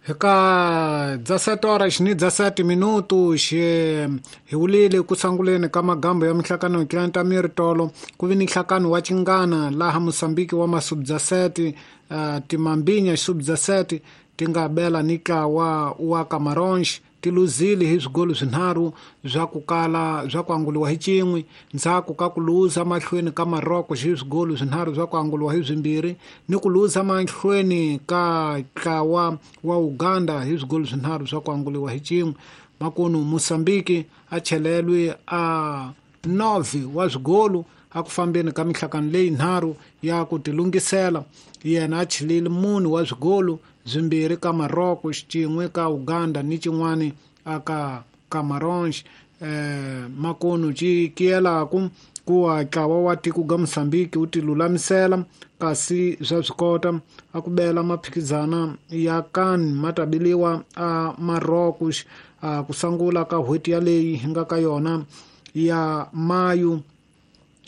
Eka 17 horas ni 17 minutos hi wulile ku sunguleni ka magambo ya minhlangano tlanta miritolo ku vi ni nhlangano wa chingana laha Mosambiki wa masubdaseti timambinya xisubdaseti ti nga bela ni ntlawa wa Camarões ti luzile hi swigolo swinharhu swa ku kala swa ku anguliwa hi cin'we ndzhaku ka ku luza mahlweni ka Maroko hi swigolo swinharhu swa ku anguliwa hi swimbirhi ni ku luza mahlweni ka ntlawa wa Uganda hi swigolo swinharhu swa ku anguliwa hi cin'we. Makunu Mosambiki a chelelwe a 9 wa swigolo a ku fambeni ka minhlangano leyi nharhu ya ku tilungisela. Yena a chelile 4 wa swigolo, 2 ka Maroko, 1 ka Uganda ni xin'wana aka Camarões. Makunu cikiyelaku ku wa ntlawa wa tiko ga Mosambiki wu tilulamisela kasi swa swi kota a ku bela maphikizana ya CAN ma ta biliwa a Maroko a ku sungula ka n'hweti yaleyi hi nga ka yona ya Mayu.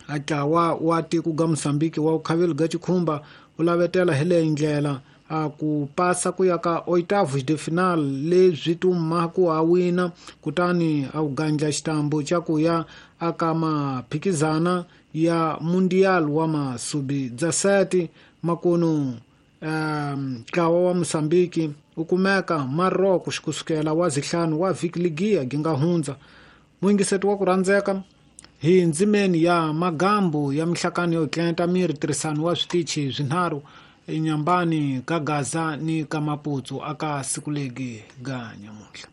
A ntlawa wa tiko ga Mosambiki wa vukhaveli ga Chikhumba wu lavetela hi leyi ndlela a ku pasa ku ya ka oitavos de final leswi tuma ku a wina kutani a wu gandla xitambu xa ku ya aka maphikizana ya Mundial wa masubi 17. Makunu ntlawa wa Mosambiki wu kumeka Maroko kusukela wa zihlanu wa vhiki ligiya gi nga hundza. Muyingiseti wa ku rhandzeka hi ndzimeni ya magambu ya minhlangano yo tlenta miri tirhisano wa switichi swinharhu enyambani ka Gaza ni ka Maputsu aka siku legi ga nyamuntlha.